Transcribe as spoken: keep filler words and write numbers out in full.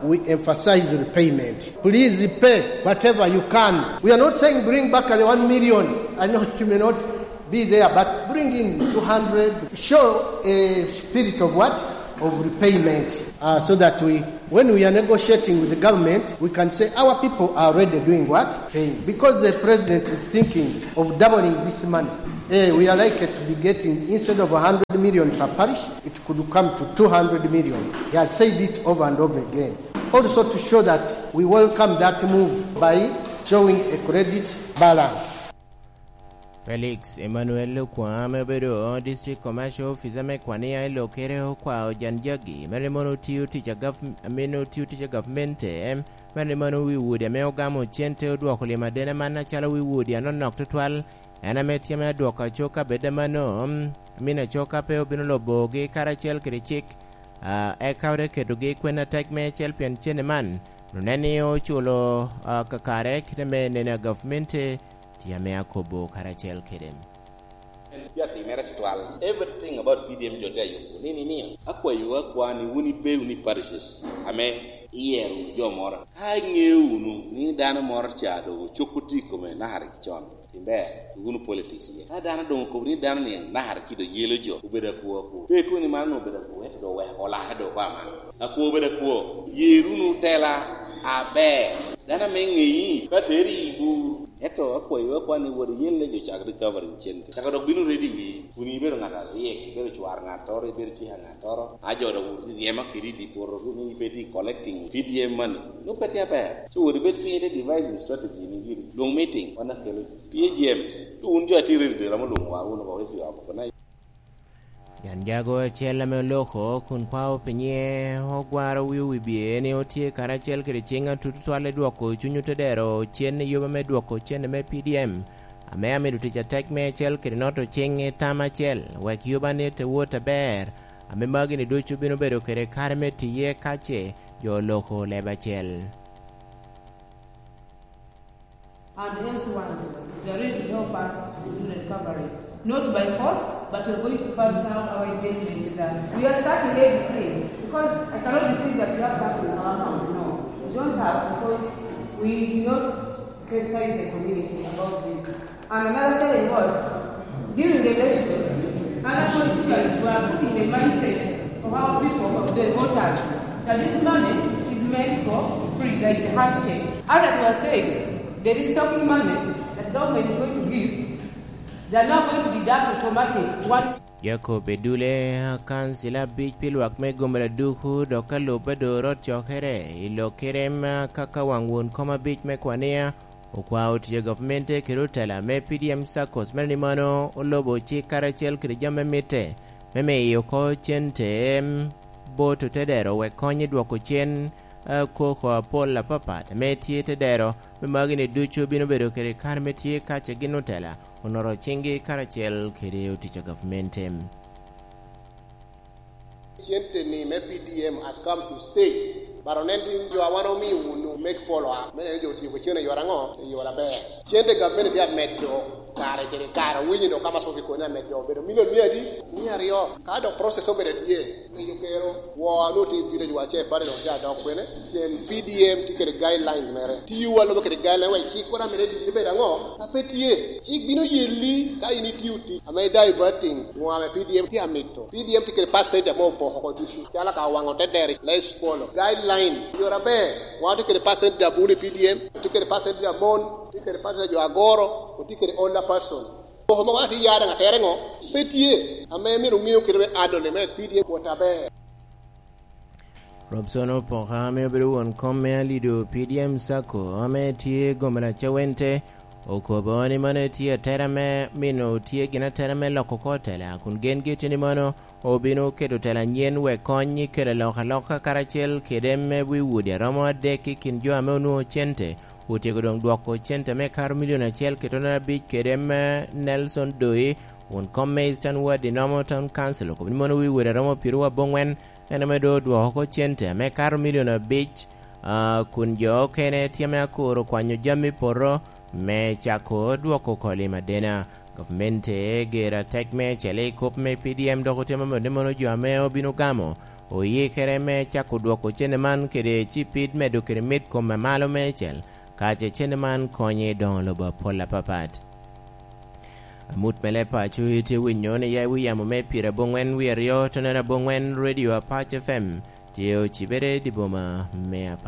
We emphasize repayment. Please pay whatever you can. We are not saying bring back the one million. I know it may not be there, but bring in two hundred. Show a spirit of what? Of repayment. Uh, so that we, when we are negotiating with the government, we can say our people are already doing what? Paying. Because the president is thinking of doubling this money, eh, we are likely to be getting, instead of one hundred million per parish, it could come to two hundred million. He has said it over and over again. Also to show that we welcome that move by showing a credit balance. Felix Emmanuel Okwa ame obedo District Commercial Officer me Kwania i Lokere okwao Jan Jagi mere ni mono otio tic a gov-, amin otio tic a gavmente, mere ni mono wi wodi ame ogamo cente odwoko lim adene man acalo wi wodi anonok tutwal, en ame tye ame adwoko acoka bed amano, amin acoka pe obino lubogi karacel kede cik, ah, eka ote ketogi i kwen atek me acel pien cene man, onen ni oculo, ah, kakare kite me nene a gavmente, tye ame akobo karacel kede. En tye atimere tutwal. Everything about P D M jo tye ayubo. Ni, ni, ni, akwayo akwa ni wun ibe wunu i parishes ame iyero wunu jo moro. Ka iŋeo wunu ni dano moro ca doŋ ocoko tye i kome nakara ki con, timber, wunu politics iye. Ka dano doŋ okobo ni dano ni nakara ki doŋ yelo jo, obedo akwo akwo. Pe ikobo ni mano obedo akwo, ento doŋ weko olare doŋ oko aman. Akwo obedo akwo. Yer wunu tela aber. Dano ame ŋeyi, ka teri i bur. Ento akwayo akwa ni wot iyelle jo cak recovery cente. Caka dok bino ready wi, kun ibedo ŋat aryek, ibedo cwar ŋattoro, ibedo cika ŋattoro. A jo dok ryema kedi i dye poto, ni pe tye collecting P D M money. Nwoŋo pe tye aber. So wot ibed piny ite devising strategy ni giri. Lwong meeting, wan akelo P A Gs. To wun jo atye ready, romo lwoŋo wa wunu oko if you have organized. Jan jago acel ame oloko kun kwao pi nyiŋe ogwaro wi wibye ni otye karacel kede ciŋ atut tutwal i dwoko cuny otedero cen i yuba me dwoko cene me P D M, ame amido tic atek me acel kede noto ciŋ i tam acel, wek yuba ni te wot aber, ame magi ni ducu bino bedo kede kare me tiye kace jo oloko leb acel. And else ones, they are ready to help us in recovery. Not by force, but we are going to first have our engagement with them. We are starting everything because I cannot receive that we have that in our hand. No, we don't have because we did not sensitize the community about this. And another thing was, during the election, other politicians were putting the mindset of our people, of the voters, that this money is meant for free, like the handshake. Others were saying, there is talking money that government is going to give, they are now going to deduct automatic one. Jacob Edule, akansila abic pi lwak me Gomera duku, dok ka lubbe doŋ rot cokere i lok kerem, kaka waŋ won kom abic me Kwania, okwao tic a gavmente kede otela me P D M Saccos mere ni mano olobo cik karacel kede jami me mitte me miyo oko cente bot otedero wek kony i dwoko cen, eh, koko apol apapat ame tye i tedero, me magi ni ducu bino bedo kede kare me tye kace gin otela onoro ciŋgi karacel kede otic a gavmente. Cente ni me P D M has come to stay. But onen ni jo a wan omio wunu make follow up. Me neno jo otiyo kede cene i yore aŋo? I yore aber. Cente gavment tye amedo kare kede kare. Owinyo dok ka ma cok i kone amedo obedo milion mia adi? Mia aryo. Ka dok process obedo atye, miyo kero wo a nwoŋo tye i village wa ce pare dok tye adok kwene. Cen P D M tye kede guidelines mere. Tiyo wa lube kede guideline wa i cik kono amene dini bedo aŋo? A pe tye. Cik bino yelli ka in itio tic ame diverting ŋo ame P D M tye amito. P D M tye kede percent ame opoko oko ducu. Calo ka waŋo te deri, let's follow. Guideline, yore aber. Wan tye kede percent abun i P D M, tye kede percent amon, tye kede percent jo agoro, tye kede older person. Poko ma wan tye yada ŋa tere ŋo? Pe tye. Ame myero ŋeo kede me adole me P D M wot aber. Robson Opoka ame obedo won kom me Alido P D M Sacco ame tye gomera Cawente okobo ni mano etye atera me mino tye gin atera me loko kor tela kun gen gitye ni mano obino keto tela anyen wek kony i kelo alokaloka karacel kede me wi wodi aromo adek i kin jo ame onwoŋo cente otyeko doŋ dwoko cente me karo milion acel ki tonere abic kede me Nelson Doi won kom me Eastern Ward i Nomo Town Council okobo ni mano wi wodi aromo pyeraryo abongwen en ame doŋ odwoko oko cente ame kato milion abic, kun jo okene tye ame akuro kwanyo jami poto me cako dwoko oko lim adena. Gavmente gero atek me acel i kop me P D M dok otemo mot ni mono jo ame obino gamo oyikere me cako dwoko cene man kede cipid medo kede mit kome malo meicel, ka ce cene man konyo i doŋo lobo apol apapat. Amut me leb paco itye winyo ni ya i wi yamo me pire aboŋwen wie aryo, tonere aboŋwen, Radio Apac F M, tye ocibere i dye boma me Apac.